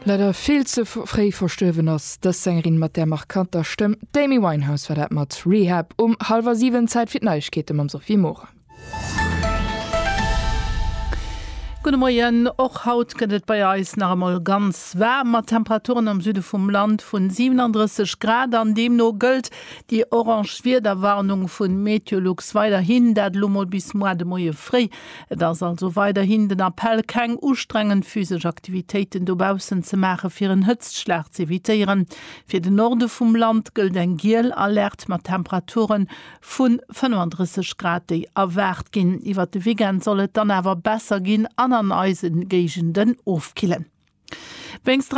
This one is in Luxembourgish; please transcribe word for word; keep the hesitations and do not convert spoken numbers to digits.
Leider vill ze fréi verstuerwen ass dës Sängerin mat der markanter Stëmm d'Amy Winehouse war dat mat Rehab um hallwer siwen Zäit fir d'Neiegkeete mam Sophie Moore. Gudde Moien, och haut gëtt et bei eis nach emol ganz waarm, mat Temperaturen am Süde vum Land vun siwenandrësseg Grad an deemno gëllt déi orange Wiederwarnung vun Meteolux weiderhin, dat elo mol bis muar de Moie fréi. Et ass also weiderhin den Appell, keng ustrengend physesch Aktivitéiten dobaussen ze maachen, fir en Hëtztschlag z'evitéieren. Fir den Norde vum Land gëllt eng giel Alerte mat Temperaturen vu fënnefandrësseg Grad, déi erwaart ginn. Iwwert de Weekend soll et dann awer besser ginn an an eise Géigenden ofkillen. Wéinst.